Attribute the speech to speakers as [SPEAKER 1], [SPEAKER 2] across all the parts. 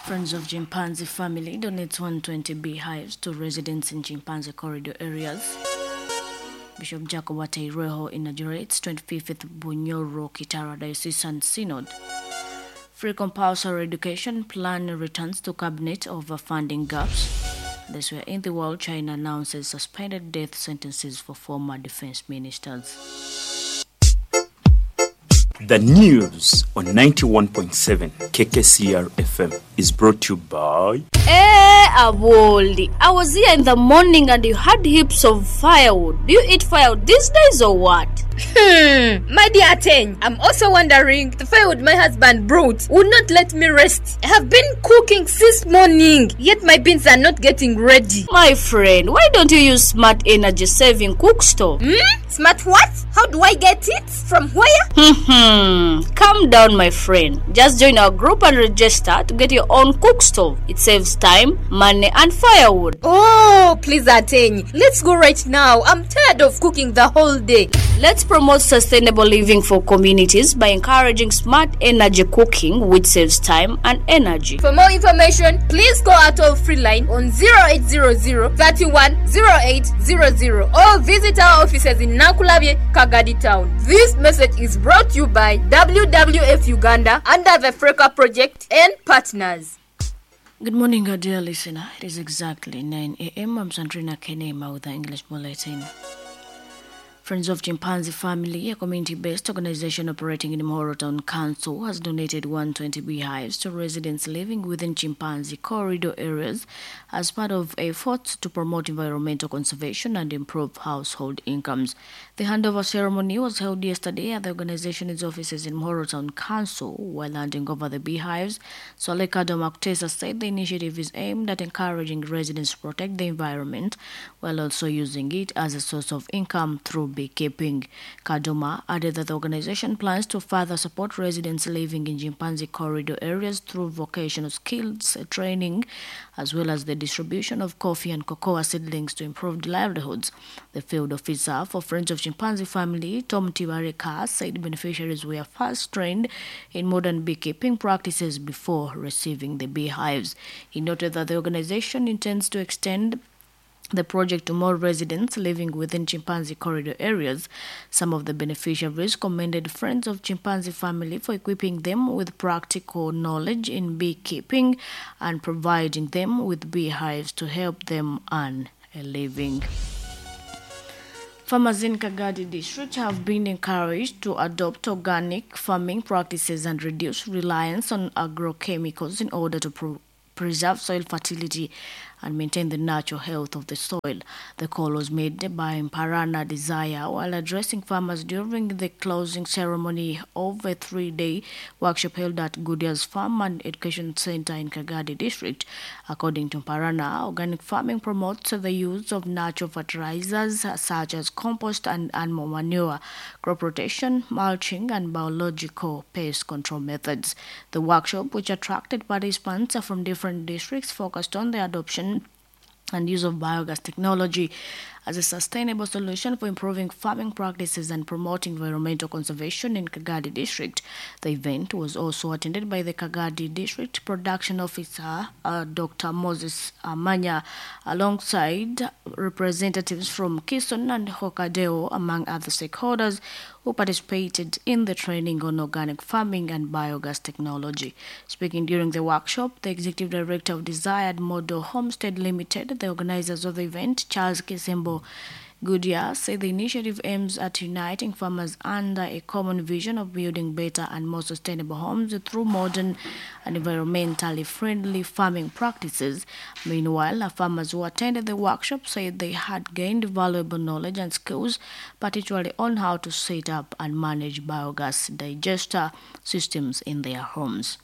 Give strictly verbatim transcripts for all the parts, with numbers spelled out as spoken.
[SPEAKER 1] Friends of Chimpanzee Family donates one hundred twenty beehives to residents in chimpanzee corridor areas. Bishop Jacob Ataireho inaugurates twenty-fifth Bunyoro Kitara Diocesan Synod. Free compulsory education plan returns to cabinet over funding gaps. This were in the world. China announces suspended death sentences for former defense ministers.
[SPEAKER 2] The news on ninety-one point seven K K C R F M is brought to you by
[SPEAKER 1] Eh, Aboli, I was here in the morning and you had heaps of firewood. Do you eat firewood these days or what?
[SPEAKER 3] Hmm, my dear Ten, I'm also wondering. The firewood my husband brought would not let me rest. I have been cooking since morning, yet my beans are not getting ready.
[SPEAKER 1] My friend, why don't you use smart energy saving cook stove?
[SPEAKER 3] Hmm? Smart what? How do I get it? From where?
[SPEAKER 1] Hmm. Calm down, my friend. Just join our group and register to get your own cook stove. It saves time, money, and firewood.
[SPEAKER 3] Oh, please, Ateny. Let's go right now. I'm tired of cooking the whole day.
[SPEAKER 1] Let's promote sustainable living for communities by encouraging smart energy cooking, which saves time and energy.
[SPEAKER 3] For more information, please call our toll free line on zero eight zero zero thirty-one oh eight zero zero or visit our offices in Nankulabye, Kagadi Town. This message is brought to you by W W F Uganda under the FRECA project and partners.
[SPEAKER 1] Good morning, our dear listener. It is exactly nine a m. I'm Sandrina Kenema with the English Bulletin. Friends of Chimpanzee Family, a community-based organization operating in Muhorro Town Council, has donated one hundred twenty beehives to residents living within chimpanzee corridor areas as part of efforts to promote environmental conservation and improve household incomes. The handover ceremony was held yesterday at the organization's offices in Muhorro Town Council. While handing over the beehives, Swale Kadoma Kutesa said the initiative is aimed at encouraging residents to protect the environment while also using it as a source of income through beekeeping. Kadoma added that the organization plans to further support residents living in chimpanzee corridor areas through vocational skills training, as well as the distribution of coffee and cocoa seedlings to improve livelihoods. The field officer for Friends of Chimpanzee Family, Tom Tibareka, said beneficiaries were first trained in modern beekeeping practices before receiving the beehives. He noted that the organization intends to extend the project to more residents living within chimpanzee corridor areas. Some of the beneficiaries commended Friends of Chimpanzee Family for equipping them with practical knowledge in beekeeping and providing them with beehives to help them earn a living. Farmers in Kagadi District have been encouraged to adopt organic farming practices and reduce reliance on agrochemicals in order to pro- preserve soil fertility and maintain the natural health of the soil. The call was made by Mparana Desire while addressing farmers during the closing ceremony of a three-day workshop held at Goodyear's Farm and Education Center in Kagadi District. According to Mparana, organic farming promotes the use of natural fertilizers such as compost and animal manure, crop rotation, mulching, and biological pest control methods. The workshop, which attracted participants from different districts, focused on the adoption and use of biogas technology as a sustainable solution for improving farming practices and promoting environmental conservation in Kagadi District. The event was also attended by the Kagadi District Production Officer, uh, Doctor Moses Amanya, alongside representatives from Kison and Hokkaido, among other stakeholders who participated in the training on organic farming and biogas technology. Speaking during the workshop, the Executive Director of Desired Model Homestead Limited, the organizers of the event, Charles Kisembo Goodyear, said the initiative aims at uniting farmers under a common vision of building better and more sustainable homes through modern and environmentally friendly farming practices. Meanwhile, farmers who attended the workshop said they had gained valuable knowledge and skills, particularly on how to set up and manage biogas digester systems in their homes.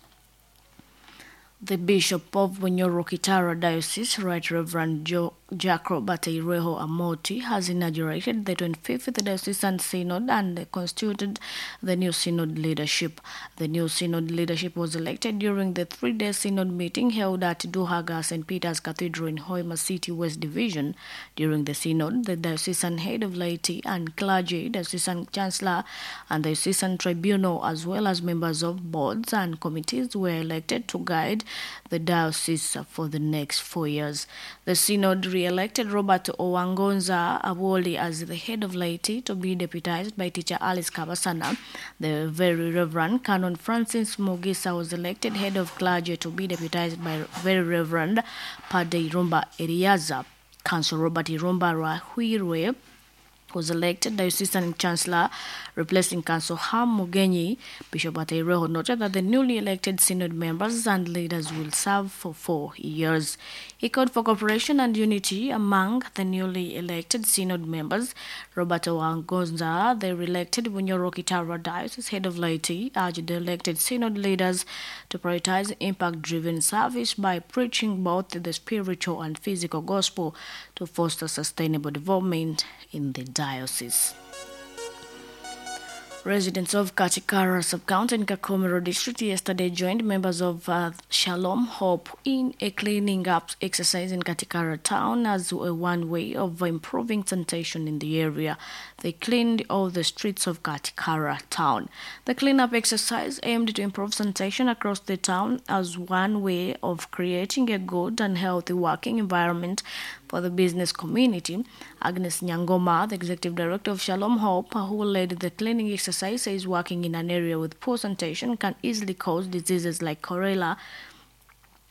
[SPEAKER 1] The Bishop of Bunyoro Kitara Diocese, Right Reverend Joe Jack Robert Ireho Amoti has inaugurated the twenty-fifth Diocesan Synod and constituted the new Synod leadership. The new Synod leadership was elected during the three-day Synod meeting held at Duhaga Saint Peter's Cathedral in Hoima City West Division. During the Synod, the Diocesan Head of Laity and Clergy, Diocesan Chancellor and the Diocesan Tribunal, as well as members of boards and committees, were elected to guide the diocese for the next four years. The Synod re-elected Robert Owangonza Awoli as the head of laity, to be deputized by teacher Alice Kabasana. The Very Reverend Canon Francis Mugisa was elected head of clergy, to be deputized by Very Reverend Padre Irumba Eriaza. Council Robert Irumba Rahwirwe was elected Diocesan Chancellor, replacing Council Ham Mugenyi. Bishop Ataireho noted that the newly elected Synod members and leaders will serve for four years. He called for cooperation and unity among the newly elected Synod members. Robert Owangonza, the re-elected Bunyoro Kitara Diocese head of laity, urged the elected Synod leaders to prioritize impact-driven service by preaching both the spiritual and physical gospel to foster sustainable development in the diocese. Residents of Katikara sub-county in Kakomero district yesterday joined members of uh, Shalom Hope in a cleaning up exercise in Katikara town as a one way of improving sanitation in the area. They cleaned all the streets of Katikara town. The cleanup exercise aimed to improve sanitation across the town as one way of creating a good and healthy working environment for the business community. Agnes Nyangoma, the executive director of Shalom Hope, who led the cleaning exercise, says working in an area with poor sanitation can easily cause diseases like cholera,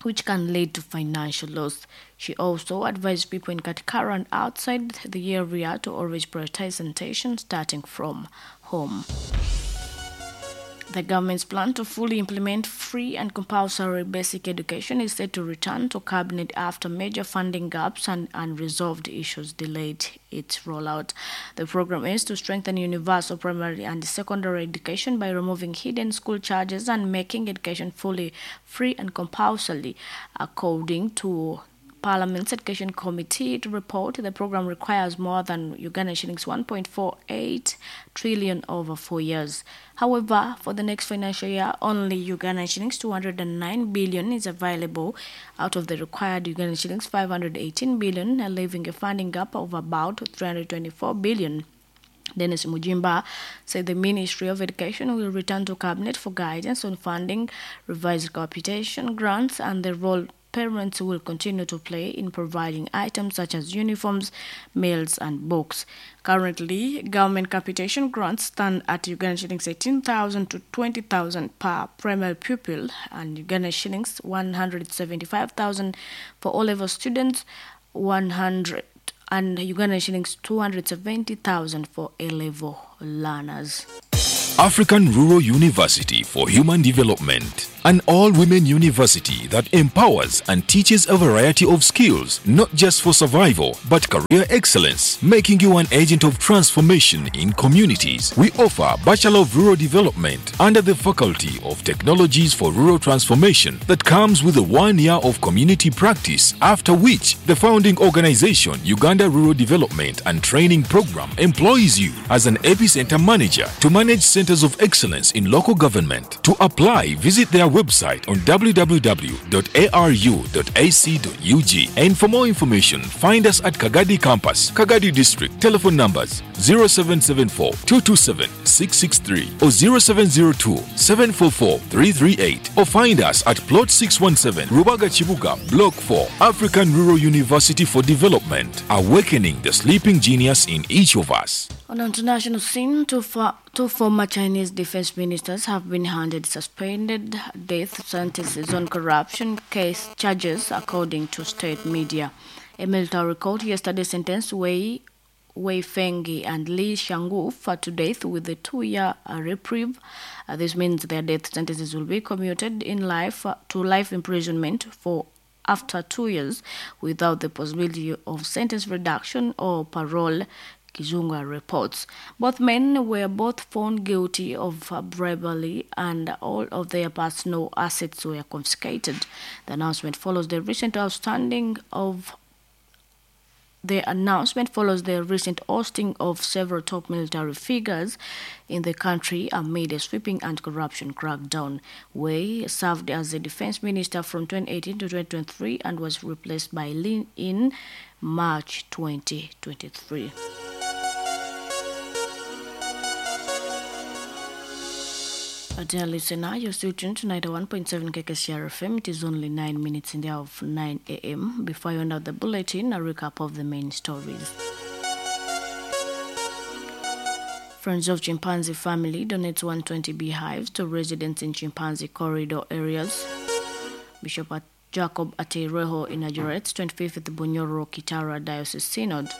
[SPEAKER 1] which can lead to financial loss. She also advised people in Katikara and outside the area to always prioritize sanitation, starting from home. The government's plan to fully implement free and compulsory basic education is set to return to cabinet after major funding gaps and unresolved issues delayed its rollout. The program is to strengthen universal primary and secondary education by removing hidden school charges and making education fully free and compulsory. According to Parliament's Education Committee to report, the program requires more than Uganda shillings one point four eight trillion over four years. However, for the next financial year, only Uganda shillings two hundred nine billion is available out of the required Uganda shillings five hundred eighteen billion, leaving a funding gap of about three hundred twenty-four billion. Dennis Mujimba said the Ministry of Education will return to Cabinet for guidance on funding, revised capitation grants, and the role parents will continue to play in providing items such as uniforms, meals, and books. Currently, government capitation grants stand at Uganda shillings eighteen thousand to twenty thousand per primary pupil and Uganda shillings one hundred seventy-five thousand for all-level students, one hundred and Uganda shillings two hundred seventy thousand for A-level learners.
[SPEAKER 4] African Rural University for Human Development, an all-women university that empowers and teaches a variety of skills, not just for survival, but career excellence, making you an agent of transformation in communities. We offer Bachelor of Rural Development under the Faculty of Technologies for Rural Transformation that comes with a one year of community practice, after which the founding organization, Uganda Rural Development and Training Program, employs you as an epicenter manager to manage centers of excellence in local government. To apply, visit their website on w w w dot a r u dot a c dot u g, and for more information, find us at Kagadi Campus, Kagadi District. Telephone numbers zero seven seven four, two two seven, six six three or zero seven zero two, seven four four, three three eight, or find us at Plot six one seven, Rubaga Chibuga, Block four, African Rural University for Development, awakening the sleeping genius in each of us.
[SPEAKER 1] On the international scene, two, fo- two former Chinese defense ministers have been handed suspended death sentences on corruption case charges, according to state media. A military court yesterday sentenced Wei, Wei Fenghe and Li Shangfu to death with a two-year reprieve. Uh, this means their death sentences will be commuted in life uh, to life imprisonment for after two years, without the possibility of sentence reduction or parole. Kizunga reports. Both men were both found guilty of bribery and all of their personal assets were confiscated. The announcement follows the recent outstanding of The announcement follows the recent ousting of several top military figures in the country amid a sweeping anti-corruption crackdown. Wei served as the defense minister from twenty eighteen to twenty twenty-three and was replaced by Lin in March twenty twenty-three. Dear listener, you're still tuned to ninety-one point seven K K C R F M. It is only nine minutes in the hour of nine A M. Before I end out the bulletin, a recap of the main stories. Friends of Chimpanzee Family donates one hundred twenty beehives to residents in chimpanzee corridor areas. Bishop Jacob Ateireho inaugurates twenty-fifth Bunyoro Kitara Diocese Synod.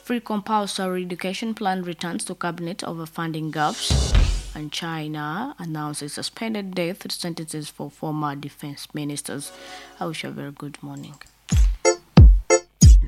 [SPEAKER 1] Free compulsory education plan returns to cabinet over funding gaps. And China announces suspended death sentences for former defense ministers. I wish you a very good morning.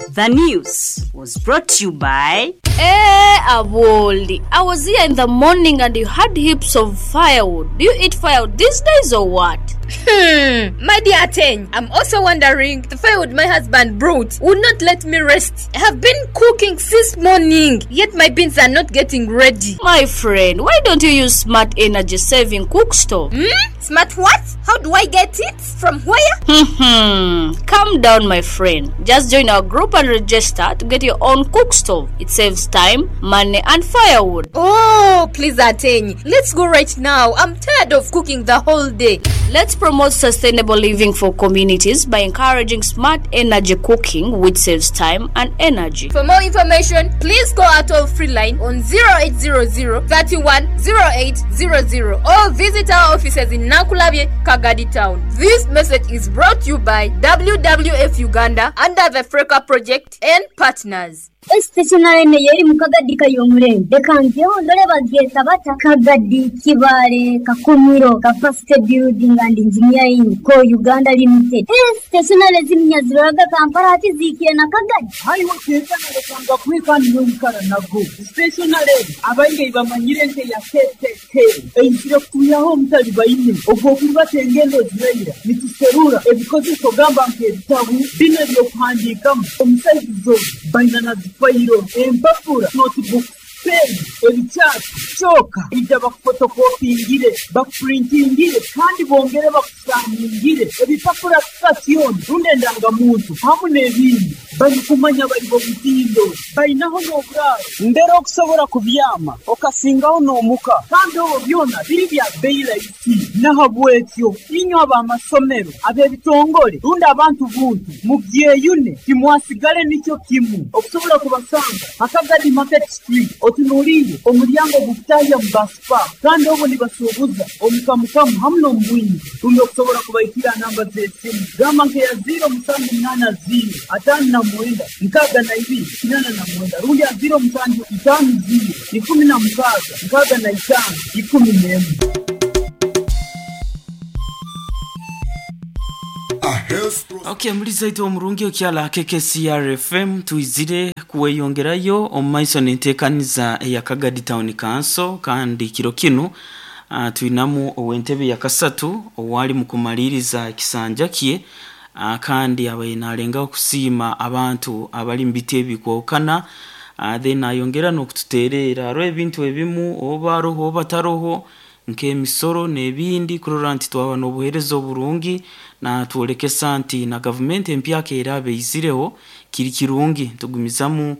[SPEAKER 5] The news was brought to you by...
[SPEAKER 1] Hey, Awoli, I was here in the morning and you had heaps of firewood. Do you eat firewood these days or what?
[SPEAKER 3] Hmm, my dear Ateng, I'm also wondering, the firewood my husband brought would not let me rest. I have been cooking since morning, yet my beans are not getting ready.
[SPEAKER 1] My friend, why don't you use smart energy saving cook stove?
[SPEAKER 3] Hmm? Smart what? How do I get it? From where?
[SPEAKER 1] Hmm, calm down, my friend. Just join our group and register to get your own cook stove. It saves time, money, and firewood.
[SPEAKER 3] Oh, please, Ateng, let's go right now. I'm tired of cooking the whole day.
[SPEAKER 1] Let's promote sustainable living for communities by encouraging smart energy cooking, which saves time and energy.
[SPEAKER 3] For more information, please call our toll-free line on zero eight zero zero, thirty-one, zero eight zero zero or visit our offices in Nakulabye, Kagadi Town. This message is brought to you by W W F Uganda under the Freka Project and partners.
[SPEAKER 6] Stationary ne yeri mukagadi kayomurembe reka ndore bageta bata Kagadi Kibale Kakumiro Capacity Building and Engineering Co Uganda Limited. Stationary zimnyaziraga Kampala ati zikire na Kagadi
[SPEAKER 7] hayi wakeza nakanga kwikani n'omukara nago stationary abainge bamanyire nte ya K K K enkire kuyaho omutali baine ogwo kubatengendo ziraira nituserura ebikozeso gamba nk'ebitabu bino ebyokuhandiikamu omusaizizo baina na fayiro empapura notebook pen ebikyatu kyoka ijja bakufotokopingire bakupurintingire kandi bongere bakusangingire ebipapura sitasioni rundi endangamuntu hamu n'ebindi barikumanya bari bomutindo balinaho n'oburaaro mbere okusobola kubyama okasingaho n'omuka kandi obwo byona biri bya bbeeyi rahisi nahabwekyo inywe ab'amasomero ab'ebitongole rundi abantu buntu mubyeyune timwasigale nikyo kimu okusobola kubasanga Akagadi Market Street otunuulire omulyango gukutahya mu baspa kandi obwo nibasuubuza omukamukamu hamu n'omubwingi rundi okusobola kubaikira namba z'esimu gamba nkeya ziro musanju munaana ziro ataano na mwenda nkaaga na ibiri kinana na mwenda rundi ya ziro musanju itaano ziro ikumi na mukaaga nkaaga na itaano ikumi n'emwe.
[SPEAKER 8] Okay, mulizaito omurungi okyala K K C R F M tuizire kuweyongerayo omumaiso n'enteekaniza eya Kagadi Town Council kandi kiro kinu uh, tuinamu ow'entebe ya kasatu owali mu kumaliriza ekisanja kye uh, kandi abaye nalenga okusiima abantu abali mu biti ebikwawukana uh, then ayongera n'okututeerera hariho ebintu ebimu oba aroho oba taroho nk'emisoro n'ebindi kurora nti twaba n'obuheereza oburungi na twolekesa nti na gavumenti empyaka eraba eizireho kiri kirungi tugumizamu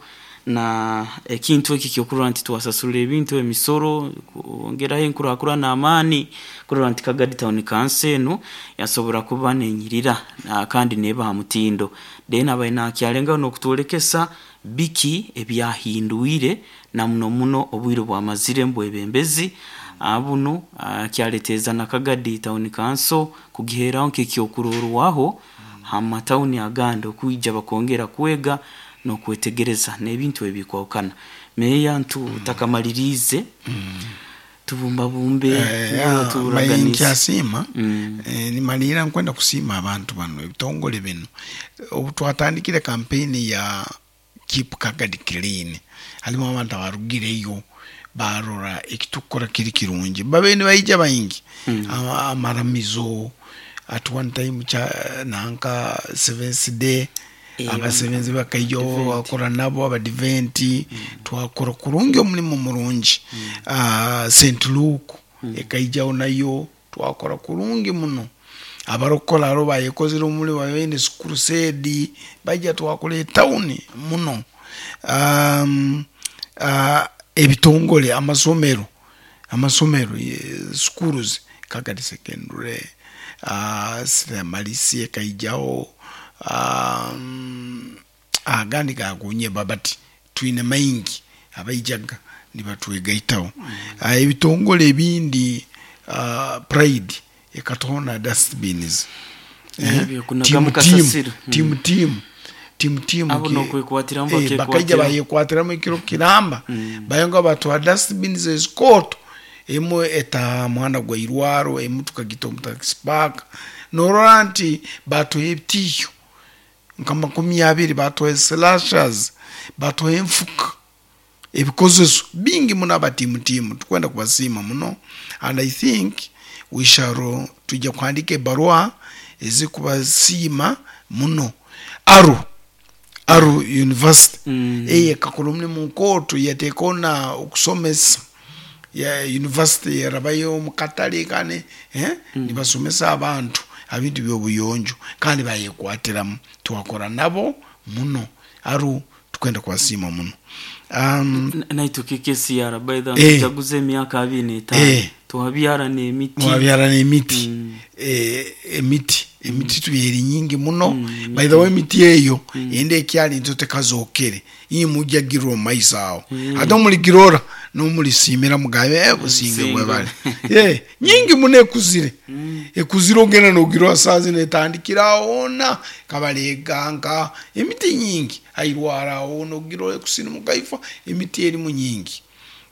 [SPEAKER 8] na ekintu eki kyokurora nti twasasurira ebintu emisoro kwongeraho enkurakurana amaani kurora nti Kagadi Town Council enu yasobora kuba nenyirira na kandi neba ha mutindo then abaye nakyalengaho n'okutwolekesa biki ebyahindwire na muno muno obwire bwamazire mbwebembezi abuno kyaleteza na Kagadi Town Council kugiheraho nk'ekyokurorwaho amatawuni agandi okwijja bakongera kwega n'okwetegereza n'ebintu ebikwawukana. Meya ntu takamalirize tubumbabumbe
[SPEAKER 9] turaganisa nkyasiima nimalira nkwenda kusiima abantu bano ebitongole bino obu twatandikire kampeni ya Keep Kagadi Clean halimu abantu abarugireyo barora ekitukora kiri kirungi babe nibaija baingi mm. amaramizo at one time cha nanka Seventh Day Abasebenzi bakaijo bakora nabo abadiventi, twakora kurungi omulimu murungi. Ah, Saint Luke ekaijaho nayo twakora kurungi muno. Abarokora aro bayekozere omulimu baine crusade baija twakora etawuni muno. Um, uh, ebitongole amasomero amasomero eh, schools Kagadi Secondary, uh, Malisi ekaijaho, um, agandi gagunye babati twine maingi abaijaga nibatwegaitaho. mm. uh, ebitongole ebindi, uh, Pride ekatona dustbins,
[SPEAKER 8] Ebyo
[SPEAKER 9] eh,
[SPEAKER 8] kunagamu
[SPEAKER 9] timu timu
[SPEAKER 8] kasasiro.
[SPEAKER 9] timu timu timu timu
[SPEAKER 8] Abo
[SPEAKER 9] ke-
[SPEAKER 8] nokwekwatiramu
[SPEAKER 9] eh,
[SPEAKER 8] bakekwatira.
[SPEAKER 9] bakaija bayekwatiramu ekiro kiramba, bayonga batwa dustbins ezikoto emwe eta muhanda gwa irwaro, emwe tukagita omu taxi park. Norora nti batuha ebitiyo nka makumi abiri, batuha slashers, batuha enfuka, ebikozeso bingi muno. Abatimutimu tukwenda kubasiima muno, and I think we shall tujja kuhandika ebarua ezikubasiima muno. Aru Aru University
[SPEAKER 8] Mm.
[SPEAKER 9] eye ekakora omulimu nkooto, yateekaho na okusomesa ya university yarabayo mukatale kane, eh? Nibasomesa abantu ebintu byobuyonjo kandi bayekwatiramu, twakora nabo muno. Aru tukwenda kubasiima muno. um,
[SPEAKER 8] Naitwe K K C R by the
[SPEAKER 9] Eh.
[SPEAKER 8] tujaguza emyaka abiri n'etaano,
[SPEAKER 9] Eh.
[SPEAKER 8] twabyara n'emiti.
[SPEAKER 9] Mwabyara n'emiti, eh, emiti emiti tubyeri nyingi muno. By the way, emiti eyo ende ekyali nto tekazokere, imujja girwa omu maiso awo, ate omuligirora nomulisimira mugabe, eh, businge
[SPEAKER 8] Businge.
[SPEAKER 9] bwebale. Eh, nyingi muno ekuzire, ekuzire ogenda nogirora saa zino etandikira awona kabaleganga emiti nyingi airwara awo nogirora ekusinimuka ifa. Emiti erimu nyingi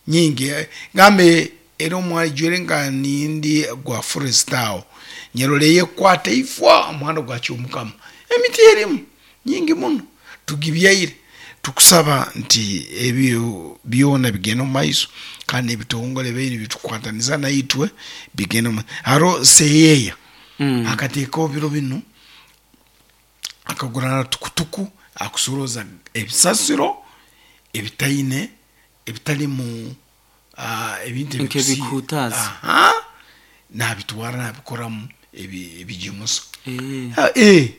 [SPEAKER 9] nyingi, eh, gambe era omwajwere nga nindi gwa forest awo nyerole yekwata ifwa omuhanda gwakyomukama. Emiti erimu nyingi muno tugibyaire. Tukusaba nti ebyo byona bigenda omu maiso, kandi ebitongole biri bitukwataniza naitwe bigenda omu haro seyeya
[SPEAKER 8] Mm.
[SPEAKER 9] akateekaho biro bino akagurana tukutuku akusoroza ebisasiro ebitaine ebitalimu ah, ebintu ebikusi-
[SPEAKER 8] Nk'ebikutazi.
[SPEAKER 9] Aha, nabitwara nabikoramu ebi- ebigimusa.
[SPEAKER 8] Eh.
[SPEAKER 9] Ah, eh,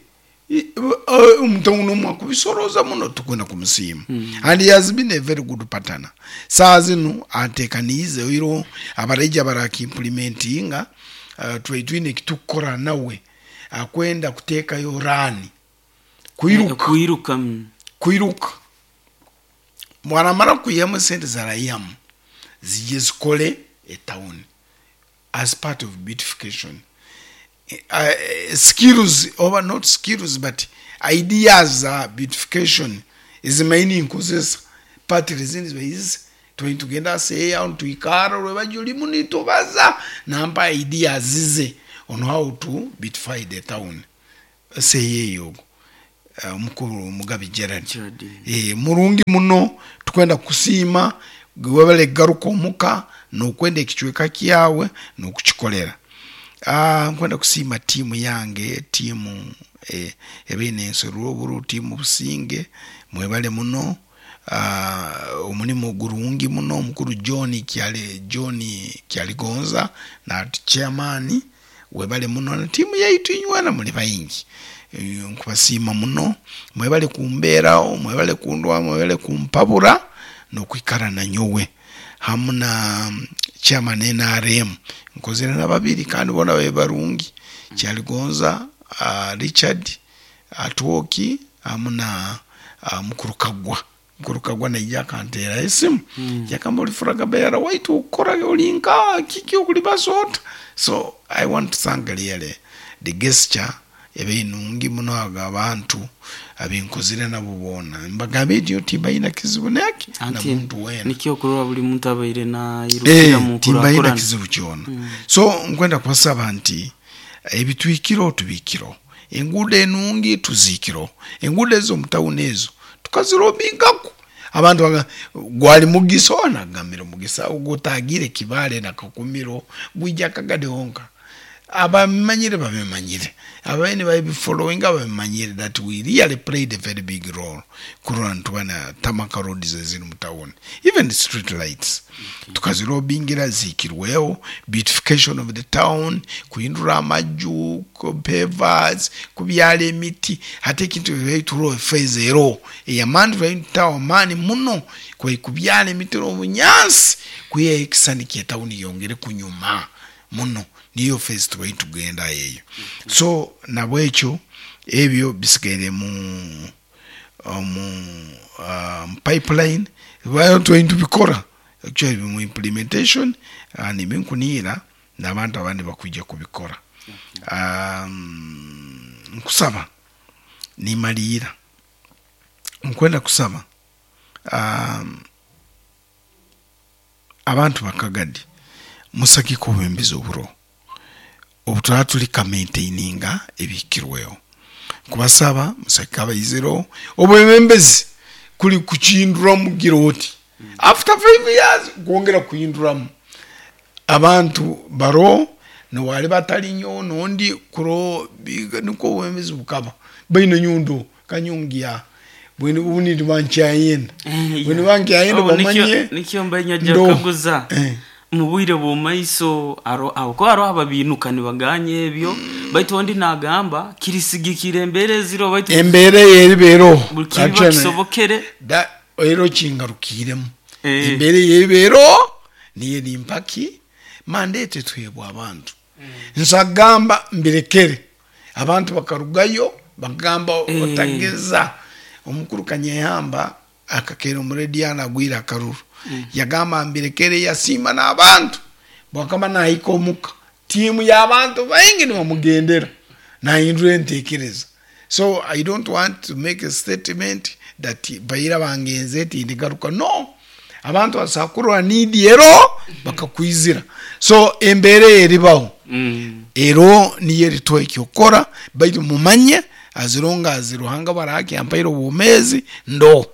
[SPEAKER 9] i- eh, omuntu nomwe akubisoroza muno, tukwenda kumusiima, and he has been a very good partner. Saa zinu atekaniize oiro abareija barakiimplementinga, uh, twetwine ekitukukora nawe akwenda kuteekayo run kwiruka.
[SPEAKER 8] Kwiruka mm.
[SPEAKER 9] Kwiruka mwaramara kwihamu sente zarayihamu zijye zikole etawuni as part of beautification. uh, skills oba not skills but ideas za beautification ezimaini nkozesa patiri zindi baizi twai tugenda aseya tuikara lwebajulimu nitubaza nampa ideas zize on how to beautify the town. Seyeyo omukuru Mugabi Gerard.
[SPEAKER 8] Gerard.
[SPEAKER 9] Eh, murungi muno, tukwenda kusiima webale garuka omuka nokwenda ekicweka kyawe nokukikolera. Ah, nkwenda kusiima tiimu yange, tiimu eh, ebeine ensorwa oburu, tiimu Businge, mwebale muno. Ah, omulimu gurungi muno. Omukuru John Kyale, John Kyaligonza na chairman, webale muno na tiimu yaitu inywena muli baingi. Eh, nkubasiima muno, mwebale kumbeerawo, mwebale kundwa, mwebale kumpabura nokwikara nanyowe hamu na mm, chairman N R M nkozere na babiri kandi bona be barungi, Kyaligonza uh, Richard Atwoki hamu na uh, mukuru Kagwa. Mukuru Kagwa naija akanteera esimu mm. yakamba olifuraga beera waitu okukora olinka kiki okulibasota. So I want to thank really the gesture ebe nungi muno ago abantu abenkozire nabo boona mbagambe nti timbayina kizibu neki na
[SPEAKER 8] Anti
[SPEAKER 9] muntu wena.
[SPEAKER 8] Nikyo okurora buli muntu abaire nairukira mu
[SPEAKER 9] Eh, timbayina
[SPEAKER 8] nkurakurana.
[SPEAKER 9] kizibu kyona. So nkwenda kubasaba nti ebitwikiro tubikiro, enguudo enungi tuziikiro, enguudo ezo mutawuni ezo tukazirobingaku abantu baga- gwali mugisa onagambira omugisa ogutagire Kibale na Kakumiro gwija Kagadi honka. Abamanyire babimanyire, abaine babifollowinga babimanyire that we really played a very big role kurora nitubona tarmac roads eziri mu town, even the street lights tukazilobingira zikirweho, beautification of the town, kuhindura amaju, pavers, kubyala emiti. Hati ekintu turo phase ero eyamaani turaitaho amaani muno kwe kubyala emiti n'obunyansi kwiha ekisani kyetawuni yongere kunyuma muno, niyo phase tubaire tugenda eyo. So nabwekyo ebyo bisigaire mu mu um, pipeline bayo tubaire tubikora actually mu implementation, uh, nibinkuniira n'abantu abandi bakwija kubikora. um, nkusaba nimaliira nkwenda kusaba um, abantu bakagadi musagike obwembezi oburo obu tuli kamaintaininga ebikirweho. Kubasaba musagike abaiziro obwebembezi kuli kuchinduramu gira oti after five years kwongera kuhinduramu abantu baro nowali batali nyo nondi kuro biga niko obwembezi bukaba baine nyundo kanyungia bwini bunidi bankyayenda bwini bankyayenda.
[SPEAKER 8] Oh, nikyo-
[SPEAKER 9] bamanye
[SPEAKER 8] nikyo mbenya
[SPEAKER 9] ndo.
[SPEAKER 8] jakaguza
[SPEAKER 9] Eh.
[SPEAKER 8] mu bwire bw'omaiso aro aho ko hariho ababinuka nibaganya ebyo, baitu ondi nagamba kirisigikira embeera eziro baitu
[SPEAKER 9] embeera eyeribeeroho
[SPEAKER 8] buli kiba kisobokere.
[SPEAKER 9] Da ero kingarukiremu.
[SPEAKER 8] Eh.
[SPEAKER 9] Embeera eyeribeero niyo nimpaki mandate twebwa abantu nsagamba mbirekere abantu bakarugayo bagamba
[SPEAKER 8] Eh.
[SPEAKER 9] otageza omukuru Kanyehamba akakera omurediano agwire akaruru yagamba mbirekere yasiima n'abantu bwakaba nahika omuka tiimu y'abantu baingi nibamugendera nahindura entekereza. So I don't want to make a statement that baira bangenze tindigaruka no abantu basakurwa nidi ero bakakwizira. So embeera eribaho
[SPEAKER 8] Mm.
[SPEAKER 9] ero niyo erituha ekyokora, baitu mumanye azironga azi Ruhanga baraki ampaire obwomezi ndo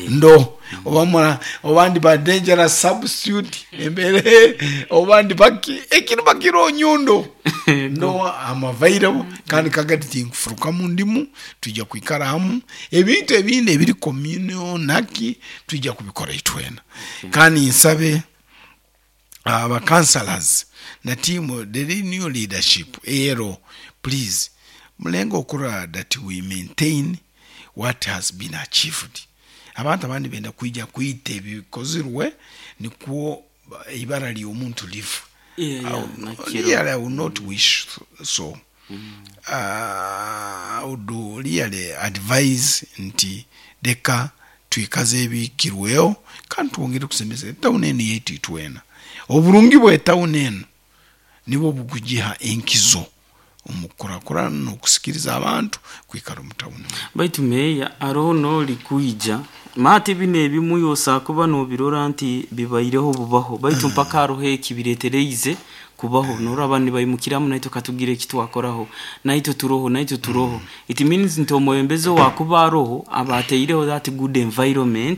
[SPEAKER 9] ndo oba mura obandi ba dangerous substitute embere obandi baki ekintu bakiro nyundo ndo am available. Kandi kagati tinkufuruka mu ndimu, tujja kwikara hamu ebintu ebindi ebiri communal naki tujja kubikora itwena. Kandi nsabe aba councillors na team the new leadership ero, please mulenga okura that we maintain what has been achieved. Abantu abandi benda kwija kwita ebikozirwe nikwo ibara ly'omuntu lifa.
[SPEAKER 8] Yeah, yeah,
[SPEAKER 9] I would-
[SPEAKER 8] nakiro.
[SPEAKER 9] really I would not wish so. uh, I would really advise nti leka twikaze ebikirweho kandi twongere kusemeza etawuni eno yaitu itwena. Oburungi bw'etawuni eno nibwo bukugiha enkizo omukurakurana n'okusikiriza abantu kwikara omu tawuni.
[SPEAKER 8] Baitu meya aroho noli kwija maate bino ebimu yosa kuba nobirora nti bibaireho bubaho, baitu mpaka haroho ekibiretereize kubaho noraba nibaimukiramu naitwe katugira ekitwakoraho naitwe turoho naitwe turoho. It means nti omwebembezi wakuba aroho aba ateireho that good environment.